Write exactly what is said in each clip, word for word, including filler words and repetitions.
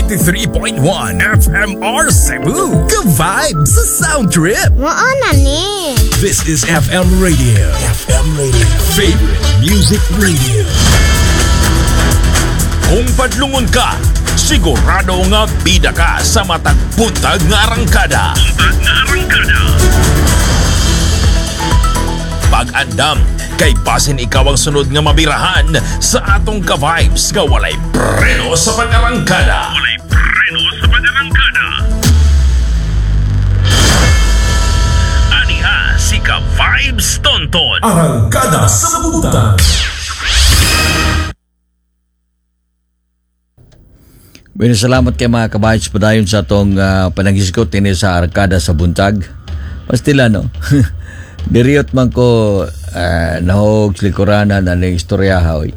ninety-three point one F M R Cebu. Ka-vibe sa Sound Trip. Mao na ni. This is F M Radio. F M Radio. Favorite Music Radio. Kung padlungon ka, sigurado nga bida ka sa matag buntag nga arangkada. Nga arangkada. Pag-andam, kay basin ikaw ang sunod nga mabirahan sa atong ka-vibes nga walay preno sa pag-arangkada. Walay preno sa pag-arangkada. Aniha si Ka-Vibes Tonton. Arangkada sa Buntag. Bueno, salamat kay mga kabayan sa padayon sa atong uh, panaghisgot ini sa Arangkada sa Buntag. Pastila, no? Diriyot man ko uh, nahog likuranan na ning istorya oy.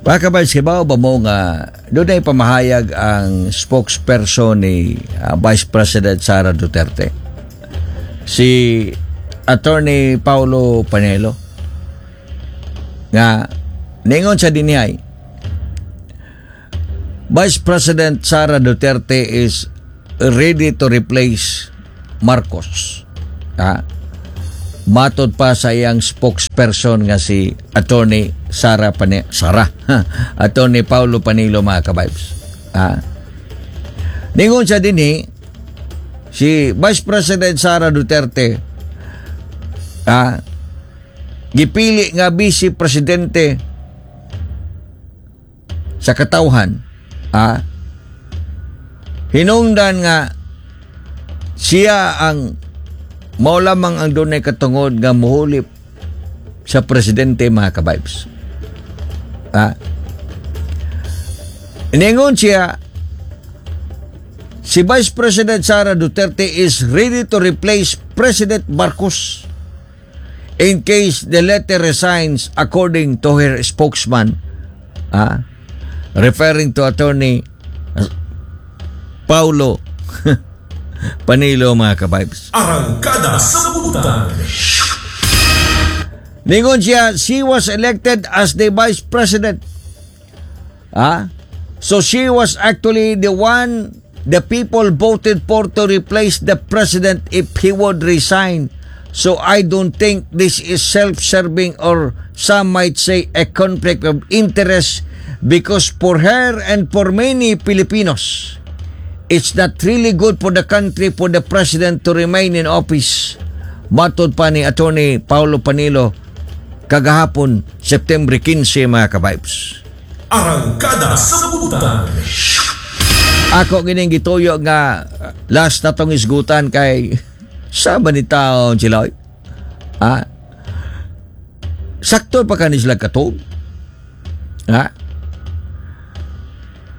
Mga kabayan, kibaw ba mo nga doon ay pamahayag ang spokesperson ni uh, Vice President Sara Duterte? Si Attorney Paulo Panelo nga ningon sa dinhiay, Vice President Sara Duterte is ready to replace Marcos. Ha? Matod pa sa iyang spokesperson nga si Attorney Sara Pane Sara Attorney Paulo Panelo, mga kabibes. Ha? Ningon siya dinhi, si Vice President Sara Duterte, ha, gipili nga vice presidente sa katawhan, ah, hinungdan nga siya ang mao lamang ang dunay katungod nga muhulip sa presidente, mga kabibes. Ah, ningon siya, si Vice President Sara Duterte is ready to replace President Marcos in case the latter resigns, according to her spokesman, ah, referring to Attorney Paulo Panilo, mga kabibes. Arangkada sa Buntag. Ningon siya, she was elected as the vice president. Ah? So she was actually the one the people voted for to replace the president if he would resign. So I don't think this is self-serving or some might say a conflict of interest because for her and for many Filipinos, it's not really good for the country for the president to remain in office. Matod pa ni Attorney Paulo Panilo kagahapon, September fifteen, mga kabibes. Arangkada sa Buntag. Ako gining gituyo nga uh, last na tong isgutan kay sa ba ni taon sila, oy? Ah? Sakto pa kani sila katuog? Ha?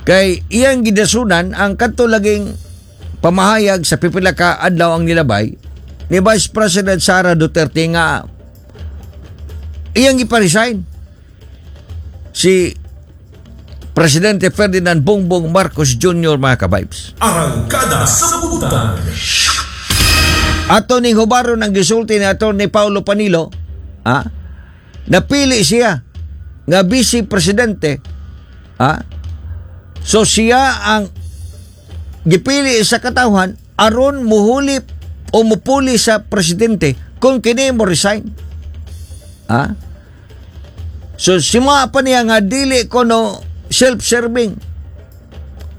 Kay iyang gidasunan ang kadto laging pamahayag sa pipila ka adlaw ang nilabay ni Vice President Sara Duterte nga iyang ipa-resign si Presidente Ferdinand Bongbong Marcos Junior, mga kabibes. Arangkada sa Buntag. Ato ning hubaron ang gisulti ni Attorney Paulo Panilo, ah, napili siya nga vice presidente, ah, so siya ang gipili sa katawhan aron muhulip o mupuli sa presidente kung kini mo resign. Ah? So sima pa niya nga dili kono self-serving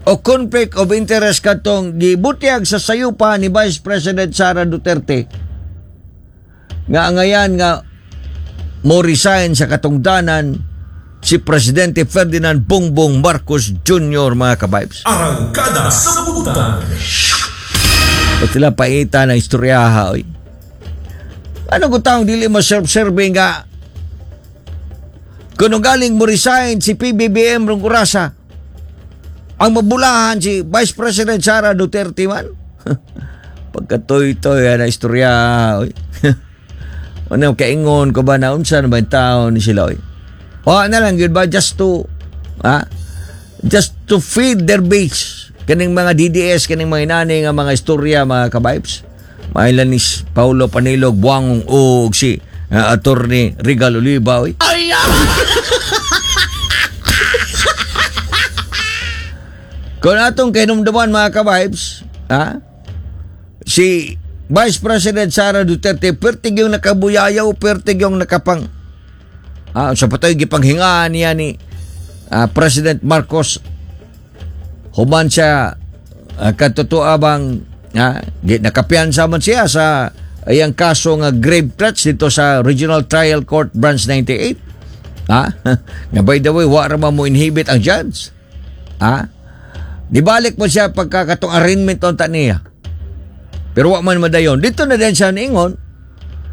o conflict of interest katong gibutyag sa sayupa ni Vice President Sara Duterte nga angayan nga mo resign sa katungdanan si Presidente Ferdinand Bongbong Marcos Junior, mga kabibes. Arangkada sa Buntag. At sila paita ng istoryaha, oy. Ano kung taong dili mo self-serving nga kung galing mo resign si P B B M rong orasa, ang mabulahan si Vice President Sara Duterte man? Pagkatoy-toy na istorya, oy. Ano, kaingon ko ba na unsa na ba yung tao ni sila, oy? O na lang, yun ba, just to, ha? Just to feed their base. Kaning mga D D S, kaning mga inani nga mga istorya, mga kabibes. Mailan ni Paulo Panilog, Buangong og si uh, Attorney Regal Oliva, oy. Kung atong kahinumduman, mga ka-vibes, ha? Si Vice President Sara Duterte, pertig yung nakabuyayaw, pertig yung nakapang ah, sa patoy gipanghingaan niya ni ah, President Marcos human siya uh, katotoo bang ah, di, nakapiyansa man siya sa iyang kaso nga grave threats dito sa Regional Trial Court Branch ninety-eight. Ha? Nga by the way, wa ra man mo inhibit ang judge. Ha? Dibalik mo siya pagka katong arraignment unta niya. Pero wa man madayon. Dito na din siya niingon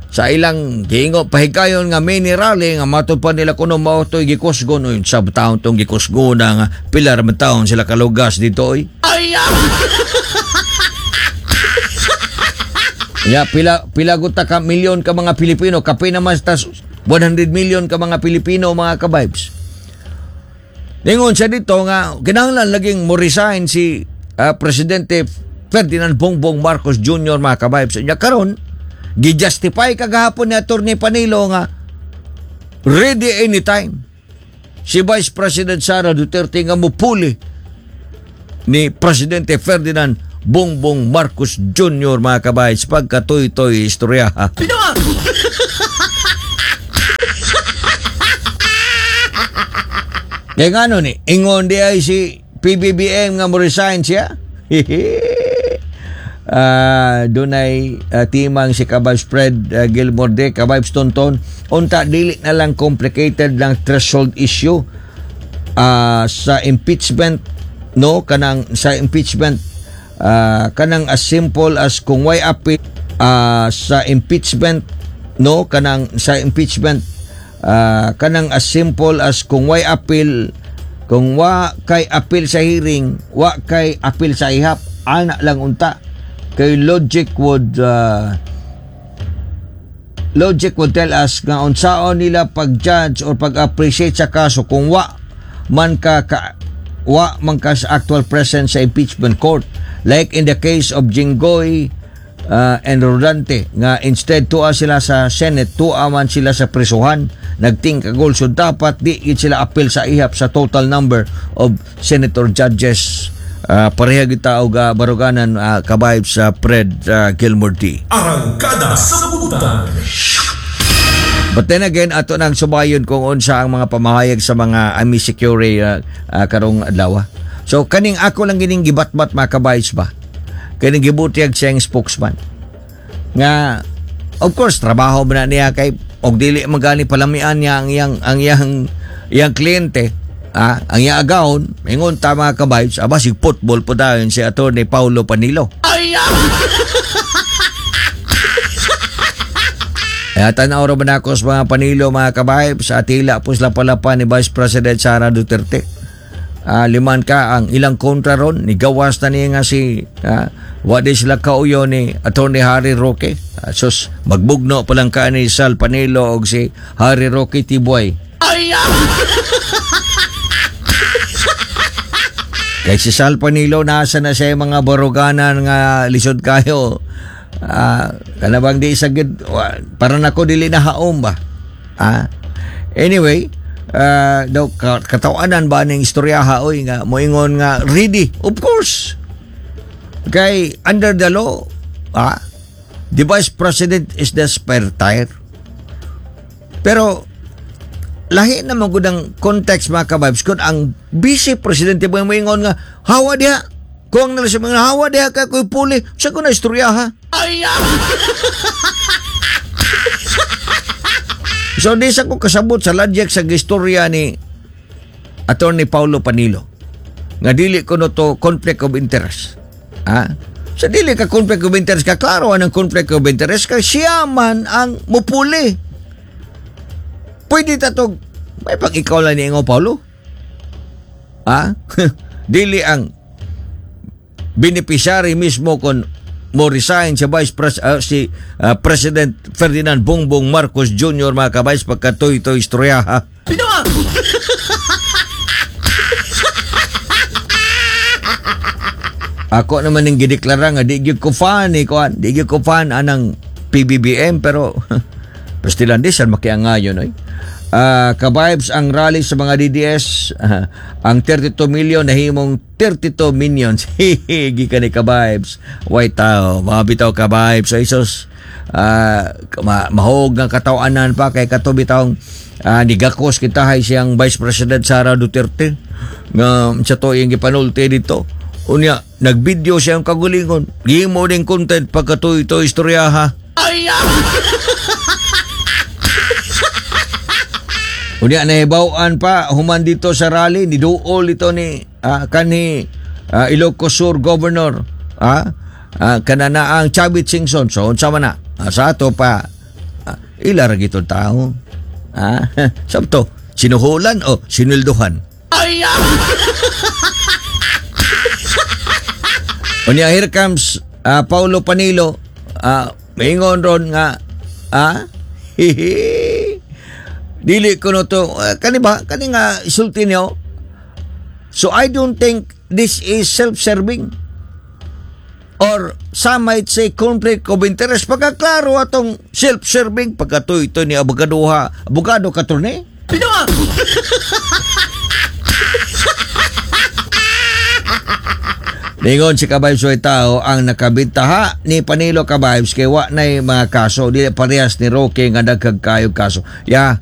sa ilang giingo pahikayon nga mini rally nga matod pa nila kuno mao to'y gikusgon. Oy, sa taon tong gikusgon nga pila ra man taon sila kalugas dito oy. Ay! Ya, pila pila guta ka milyon ka mga Pilipino, kape naman tas one hundred million ka mga Pilipino, mga ka-vibes. Ningon siya dito nga kinahanglan laging mo resign si ah, Presidente Ferdinand Bongbong Marcos Junior, mga ka-vibes. Nya karon gi-justify kagahapon ni Attorney Panelo nga ready anytime si Vice President Sara Duterte nga mupuli ni Presidente Ferdinand Bongbong Marcos Junior, mga ka-vibes, pagkatoy-toy istorya. Kaya nga ano ni, ingon di ay si P B B M nga mo resign siya. Ah, dunay uh, timang si Kabibes Fred uh, Gilmore de Kabibes Tonton, unta dili na lang complicated lang threshold issue ah, sa impeachment, no? Kanang sa impeachment, ah, kanang as simple as kung why appeal ah, sa impeachment, no? Kanang sa impeachment, ah, kanang as simple as kung why appeal, kung wa kay appeal sa hearing, wa kay appeal sa ihap, ana lang unta, kay logic would ah, logic would tell us nga unsaon nila pag-judge or pag-appreciate sa kaso kung wa man ka, ka wa man ka sa actual presence sa impeachment court, like in the case of Jinggoy uh, and Rodante nga instead tuwa sila sa Senate, tuwa man sila sa prisuhan, nagtingkagol, so dapat di gid sila appeal sa ihap sa total number of senator judges. Uh, pareha kita og uh, baruganan, uh, kabayb sa Fred uh, Gilmore D. Arangkada sa Butan. But then again, ato nang subayon kung unsa ang mga pamahayag sa mga Army Security uh, uh, karong adlaw. So kaning ako lang gining gibatbat, mga kabayos ba. Kaning gibutyag siyang spokesman. Nga of course trabaho man na niya kay og dili man gani palamian niya ang iyang ang iyang iyang kliyente. Ah, ang iyang agawon, ingon ta, mga kabayos, aba si football po dayon si Attorney Paulo Panilo. Kaya tanaw ra ba nako sa mga Panilo, mga kabayb, sa atila po sila palapa ni Vice President Sara Duterte. Ah, liman ka ang ilang kontra ron, ni gawas na niya nga si ah, wa di sila kauyo ni Attorney Harry Roque. Ah, sus, magbugno pa lang ka ni Sal Panelo og si Harry Roque Tibuay. Kay si Sal Panelo, nasa na siya yung mga baruganan nga lisod kayo. Ah, kana bang di sagid para nako dili na haom ba? Ah. Anyway, ah, daw ka- katawanan ba ning istoryaha oy nga moingon nga ready? Of course. Kay under the law, ah, the vice president is the spare tire. Pero lahi naman gud ang context, mga kabibes, kung ang vice presidente mo moingon nga hawa diha kung nila sa mga hawa diha ka ko'y puli sa ko na istorya ha. So di sa ko kasabot sa logic sa istorya ni Attorney Paulo Panilo nga dili ko no to conflict of interest, ha. Sa dili ka conflict of interest ka, klaro ang conflict of interest kay siya man ang mupuli. Pwede tatog may pag ikaw lang ni Ingo Paulo, ha. Dili ang beneficiary mismo kung mo resign si Vice Pres ah, si ah, President Ferdinand Bongbong Marcos Junior, mga kabais, pagkatoy toy istorya ha. Ako naman ning gideklara nga di gyud ko fan ni kuan, di gyud ko fan anang P B B M, pero pastilan di san makiangayon oy. Ah, ka-vibes ang rally sa mga D D S. Ah, ang thirty-two million nahimong thirty-two minions. Gikan ni ka-vibes. Way tao, mga bitaw, ka-vibes. Ay sus, ah, ma mahog nga katawanan pa kay kato bitawng ah, nigakos kita hay siyang Vice President Sara Duterte nga sa to iyang gipanulti dito. Unya, nagvideo siyang kagulingon. Gimo din content pagkatuy ito istorya ha. Unya nahibaw-an pa human dito sa rally ni duol ito ni ah, kanhi ah, Ilocos Sur Governor ah, ah, kanana ang Chavit Singson. So unsa man na. Ah, sa ato pa ah, ila ra gitong tao ah, sabto sinuhulan o sinulduhan. Unya here comes ah, Paulo Panilo, ah, maingon ron nga ah, hihi, dili ko no to uh, kani ba kani nga isulti niyo. So I don't think this is self-serving or some might say conflict of interest, pagkaklaro atong self-serving pagkatuy ito ni abogaduha, abogado katurne. Ningon si Kabayos way tao ang nakabintaha ni Panilo, ka-vibes, kay wa nay mga kaso, dili parehas ni Roque nga dagkag kayo kaso. Ya.